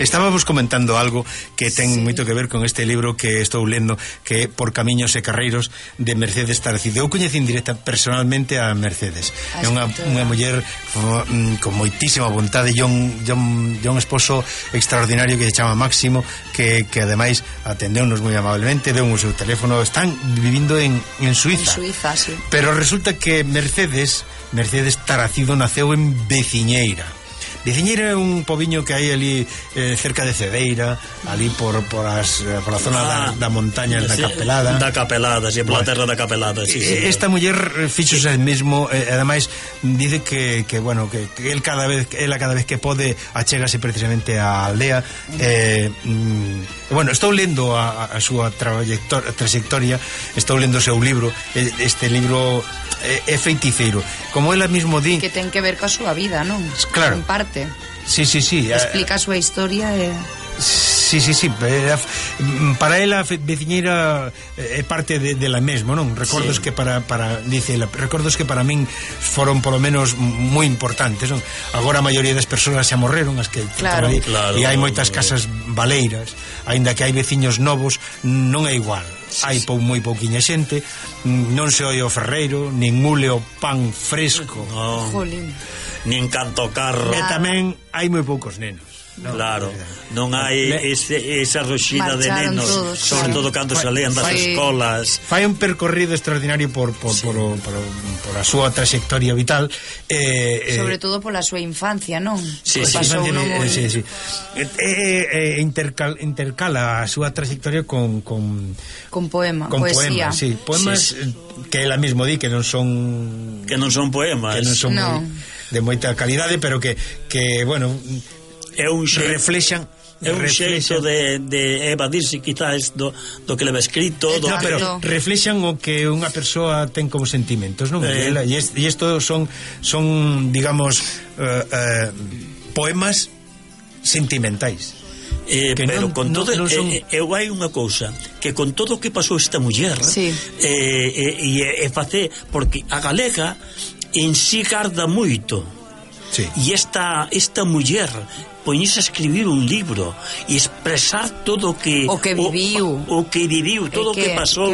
Estábamos comentando algo que ten moito que ver con este libro que estou lendo, que é Por camiños e carreiros, de Mercedes Taracido. Eu coñecín directa personalmente a Mercedes. É unha muller con moitísima vontade e un esposo extraordinario que se chama Máximo, que ademais atendeunos moi amablemente, deu o seu teléfono. Están vivindo en Suiza. En Suiza, sí. Pero resulta que Mercedes Taracido naceu en Veciñeira. Veciñeira é un pobiño que hai ali cerca de Cedeira, ali por a zona da montaña da Capelada. Da Capelada, sí, pola terra da Capelada, sí. Esta muller fixose el mesmo, ademais dice que el cada vez que pode achégase precisamente á aldea. Estou lendo a súa trayectoria, estou lendo o seu libro. Este libro é feiticeiro, como ela mesmo di, que ten que ver coa súa vida, non? Claro. En parte. Sí. Explica a súa historia e... Sí. Para ela Veciñeira é parte de la mesmo, non? Recordos que dice ela, recordos que para min foron polo menos moi importantes, non? Agora a maioría das persoas xa morreron, as que claro. E hai moitas casas baleiras, aínda que hai veciños novos, non é igual. Hai moi pouquiña xente, non se oi o ferreiro, nin mule o pan fresco, nin canto carro, e tamén hai moi poucos nenos. Claro, non hai esa roxida de nenos, sobre todo cando se lean das escolas. Fai un percorrido extraordinario por a súa trayectoria vital, sobre todo pola súa infancia, non? Sí. Intercala a súa trayectoria con poemas, sí. Poemas que ela mesmo di que non son poemas, que non son de moita calidade, pero que bueno, é un reflexan. É un xeito de evadirse quizás do que leva escrito, pero reflexan o que unha persoa ten como sentimentos, non? E isto son digamos poemas sentimentais. Pero con todo eu hai unha cousa que con todo o que pasou esta muller e face, porque a galega en si garda moito. E esta muller poñese a escribir un libro e expresar todo o que viviu, todo o que pasou,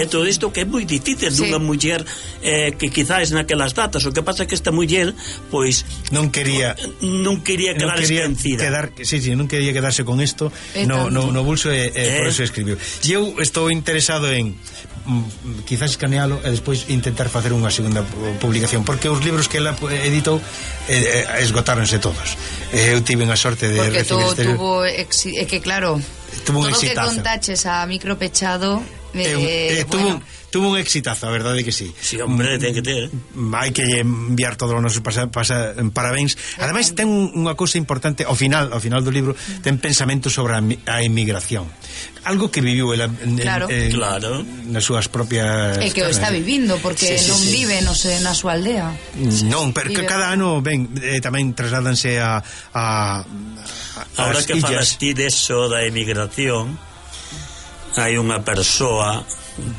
todo isto que é moi difícil dunha muller que quizás naquelas datas. O que pasa é que esta muller pois non quería quedar esquecida, non quería quedarse con isto no bolso, por eso escribiu. E eu estou interesado en quizás escanealo e despois intentar facer unha segunda publicación, porque os libros que ela editou esgotáronse todos. Eu tive unha sorte de recibir que claro, tuvo un todo exitazo. Que contaches a micro pechado tuvo un exitazo, a verdade que sí. Sí, hombre, ten que ter. Hai que enviar todos os nosos parabéns. Ademais ten unha cousa importante ao final do libro, ten pensamento sobre a emigración. Algo que viviu ela nas súas propias... E que o está vivindo, porque non vive na súa aldea. Non, pero que cada ano tamén trasládanse a ahora que falas ti deso da emigración, hai unha persoa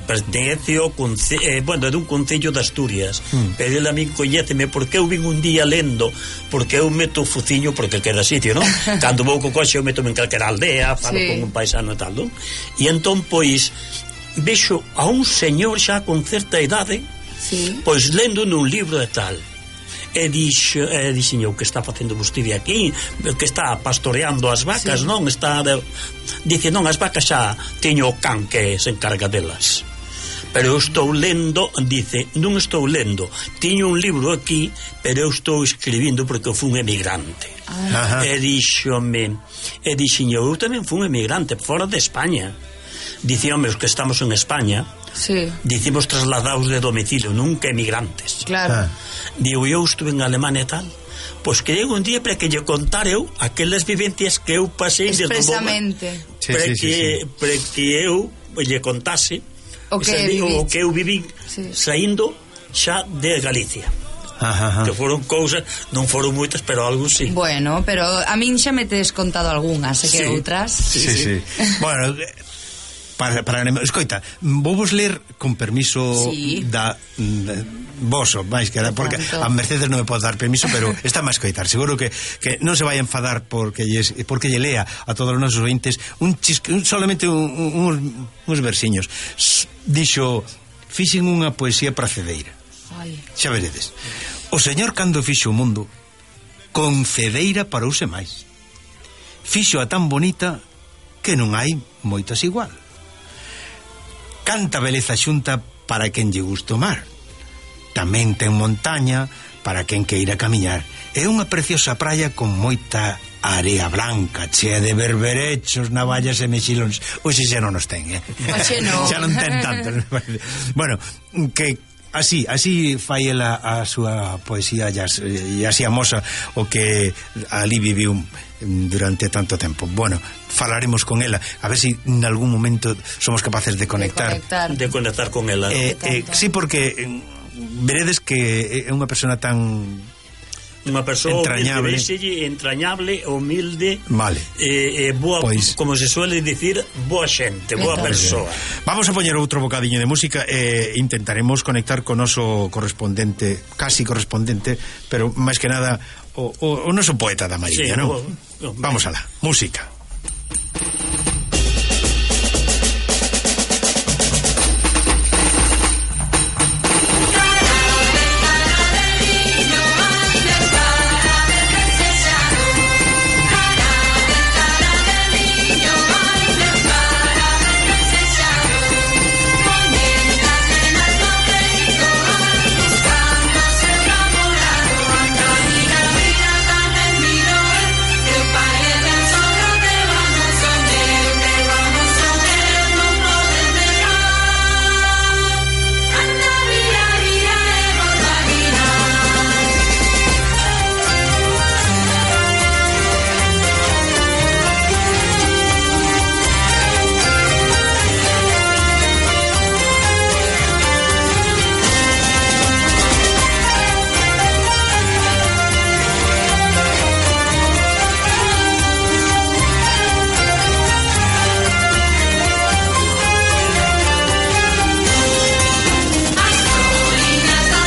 pertence ao de un concello de Asturias, pero ele a min coñéceme porque eu vin un día lendo, porque eu meto o fuciño porque queda sitio, non? Cando vou co coxe eu meto en calquera aldea, falo con un paisano e tal, non? E entón pois vexo a un señor xa con certa idade, pois lendo nun libro e tal. E dixen eu, que está facendo vostede aquí, que está pastoreando as vacas, non? Dice, non, as vacas xa teño o can que se encarga delas, pero eu estou lendo, dice, non estou lendo, teño un libro aquí, pero eu estou escribindo porque eu fui un emigrante. E dixen eu tamén fui un emigrante fora de España. Dice, home, os que estamos en España dicimos trasladados de domicilio, nunca emigrantes. Claro. Digo, eu estuve en Alemania e tal, pois que un día para que lle contar eu aquelas vivencias que eu pasei expresamente, para que eu lle contase o que eu viví saindo xa de Galicia. Que foron cousas, non foron moitas, pero algo sí. Bueno, pero a min xa me tes contado algunhas, que outras. Sí. Bueno, Escoita, vou vos ler con permiso da voso, máis que era, porque a Mercedes non me pode dar permiso, pero está máis coitar. Seguro que non se vai a enfadar porque lle lea a todos os nosos ointes solamente uns versiños. Dixo: fixen unha poesía para Cedeira. Xa veredes. O Señor, cando fixo o mundo, con Cedeira parouse máis. Fixo a tan bonita que non hai moitas igual. Canta beleza xunta para quen lle gusta o mar. Tamén ten montaña para quen queira camiñar. É unha preciosa praia con moita area blanca, chea de berberechos, navallas e mexilóns. Oxe xa non nos ten, Oxe non. Xa non ten tanto. Bueno, que así fai ela a súa poesía e así amosa o que ali viviu durante tanto tempo. Bueno, falaremos con ela a ver si en algún momento somos capaces de conectar con ela. Sí, porque veredes que é unha persona tan unha persoa entrañable, humilde, vale. Boa, pues, como se suele dicir, boa xente, boa persoa. Vamos a poñer outro bocadiño de música e intentaremos conectar con o noso correspondente, casi correspondente, pero máis que nada o noso poeta da Mariña, sí, non? Vamos alá, música.